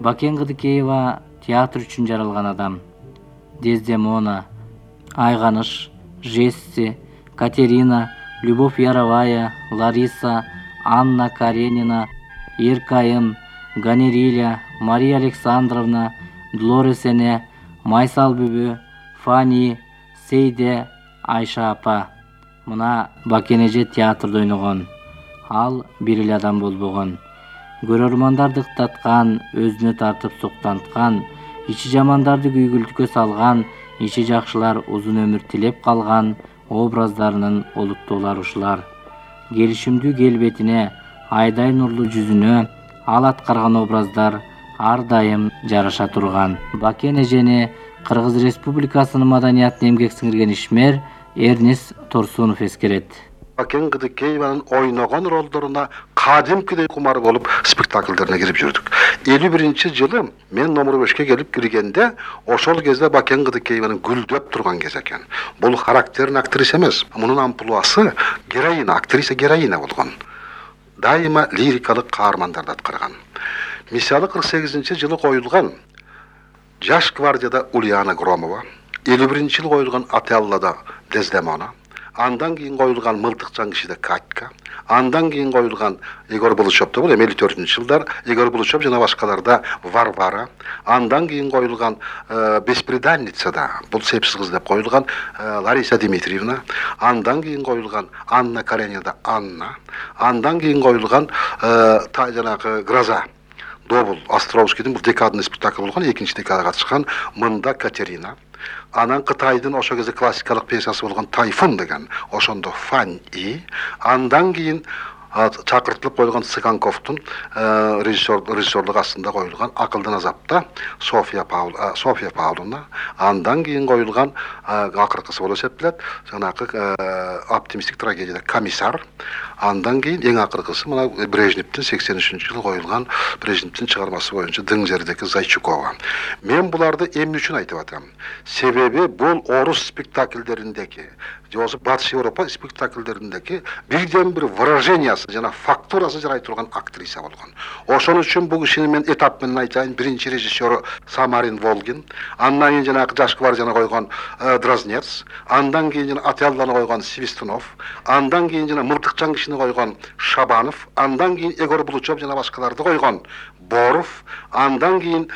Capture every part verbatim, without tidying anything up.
Бакен Кыдыкеева театр үчүн жаралган адам. Дездемона, Айганыш, Жесси, Катерина, Любовь Яровая, Лариса, Анна Каренина, Еркайым, Ганериля, Мария Александровна, Долорес эне, Майсал бүбү, Фани, Сейде, Айша апа. Мына Бакен эже театрда ойногон. Ал бир эле адам болбогон. Көрөрмандарды ыктаткан, өзүнө тартып суктанткан, ичи жамандарды күйгүлтүккө салган, ичи жакшылар узун өмүр тилеп калган образдарынын олуттуулары ушулар. Келишимдүү келбетине, айдай нурлуу жүзүнө ал аткарган образдар ар дайым жараша турган. Бакен эжени Кыргыз Республикасынын маданиятына эмгек сиңирген ишмер Эрнис Торсунов эскерет. Бакен Кыдыкееванын ойногон ролдоруна кадимкидей кумар болуп спектакльдерине кирип жүрдүк. элүү биринчи жылы мен номер бешке келип киргенде ошол кезде Бакен Кыдыкееванын гүлдөп турган кез экен. Бул характерин актриса эмес, мунун амплуасы героина, актриса героина болгон. Дайыма лирикалык каармандарды аткарган. Мисалы кырк сегизинчи жылы коюлган Жаш гвардияда Ульяна Громова, элүү биринчи жылы коюлган Отеллодо Дездемона, андан кийин коюлган Мылтыкчан кишиде Катька, андан кийин коюлган Егор Булычевда бул элүү төртүнчү жылдар Егор Булычев жана башкаларда Варвара, андан кийин коюлган Бесприданницада бул сепсиз кыз деп коюлган Лариса Дмитриевна, андан кийин коюлган Анна Каренинада Анна, андан кийин коюлган жанагы Гроза Добул Островскийдин бул декадный спектакль болгон, экинчи декадага катышкан Мында Катерина. Анан Кытайдын ошо кезде классикалык пьесасы болгон Тайфун деген, ошондо Фань И. Андан кийин чакыртылып коюлган Цыганковдун режиссер режиссерлук астында коюлган Акылдын азапта София Паул София Павловна, андан кийин коюлган акыркысы болуп эсептелет жанагы оптимистик трагедияда Комиссар, андан кийин эң акыркысы мына Брежневдин сексен үчүнчү жылы коюлган Брежневдин чыгармасы боюнча Дың жердеги Зайчукова. Мен буларды эмне үчүн айтып атам? Себеби бул орус спектакльдериндеги же Батыш Европа спектакльдериндеги бирден бир выражениясы жана фактурасы жарай турган актриса болгон. Ошон үчүн бул кишини мен этап менен айтайын. Биринчи режиссеру Самарин Волгин, андан кийин жанагы Жаш гвардияны койгон Дразнец, андан кийин жана Отеллоны койгон Свистунов, андан кийин жана Мылтыкчан кишини койгон Шабанов, андан кийин Егор Булычев жана башкаларды койгон Боров, андан кийин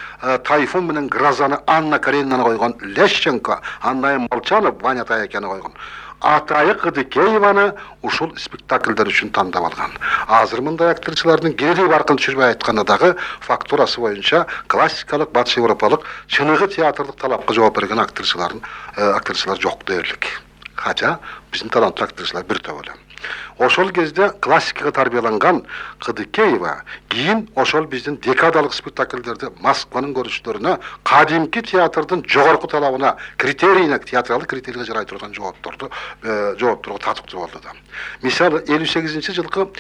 Тайфун менен Грозаны Анна Каренинаны койгон Лещенко, андан кийин Молчанов Ваня Таякяны койгон Атайы Кыдыкееваны ушул спектакльдер үчүн тандап алган. Азыр мындай актрисалардын кири баркын түшүрбөй айтканда дагы фактурасы боюнча классикалык батыш европалык чыныгы театрлык талапка жооп берген актрисалардын актрисалар жок дээрлик. Кача биздин таланттуу актрисалар бир топ эле. Ошол кезде классикага тарбияланган Кыдыкеева кийин ошол биздин декадалык спектакльдерди Москванын көрүнүштөрүнө кадимки театрдын жогорку талабына критерийине театралдык критерийге жарай турган жоопторду жооптурга татыктуу болду да. Мисалы элүү сегизинчи жылкы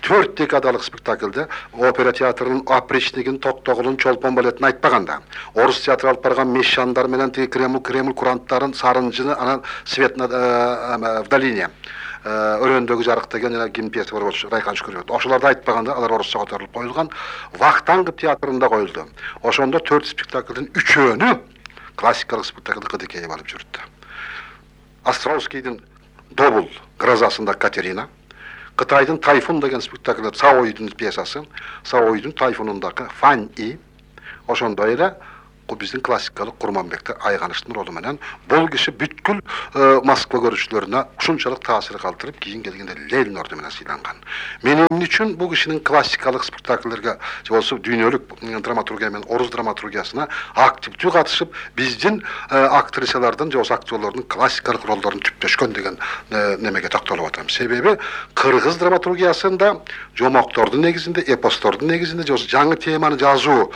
төрт декадалык спектакльде опера театрынын опричнигин, токтогулун, чолпон балетин айтпаганда, орус театры алып барган Мещандар менен тиги Кремль Кремль куранттарын, Сарынжыны, анан Свет в долине өрөөндөгү жарык деген жана ким пьеса бар болчу, Райкан Шүкүрөт. Ошолорду айтпаганда алар орусча которулуп коюлган. Вахтанг театрында коюлду. Ошондо төрт спектакльдин үчөөнү классикалык спектакльды Кыдыкеева алып жүрдү. Островскийдин Добул Грозасында Катерина, Кытайдын Тайфун деген спектакль, Саойдун пьесасы, Саойдун Тайфунундагы Фань И. Ошондой эле биздин классикалык Курманбекте Айганыштын ролу менен бул киши бүткүл Москва көрүүчүлөрүнө ушунчалык таасир калтырып, кийин келгенде Ленин ордену менен сыйланган. Мен эмне үчүн бул кишинин классикалык спектакльлерге же болсо дүйнөлүк драматургия менен орус драматургиясына активдүү катышып, биздин актрисалардын же болсо актерлордун классикалык ролдорун түптөшкөн деген немеге токтолуп атам. Себеби кыргыз драматургиясында жомоктордун негизинде, эпостордун негизинде же болсо жаңы теманы жазуу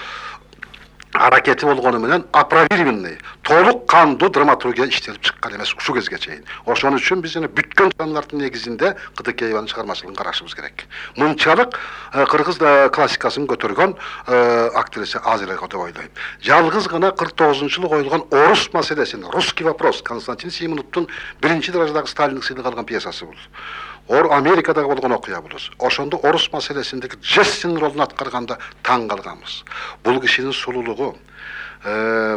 аракети болгону менен оправированный, толук кандуу драматургия иштелип чыккан эмес ушул кезге чейин. Ошон үчүн биз жана бүткөн жанрлардын негизинде Кыдыкееванын чыгармачылыгын карашыбыз керек. Мынчалык кыргыз классикасын көтөргөн актриса аз эле деп ойлойм. Жалгыз гана кырк тогузунчу жылы коюлган орус маселесин, русский вопрос Константин Симоновдун биринчи даражадагы Сталиндик сыйлык алган пьесасы бул. Ор Америкадагы болгон окуя булус. Ошондо орус маселесиндеги Джессин ролун аткарганда таң калганбыз. Бул кишинин сулуулугу,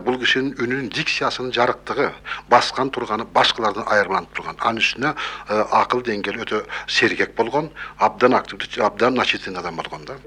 бул кишинин үнүнүн дикциясынын жарыктыгы, баскан турганы башкалардан айырмаланып турган. Анын үстүнө акыл деңгээли өтө сергек болгон, абдан активдүү, абдан начитан адам болгон да.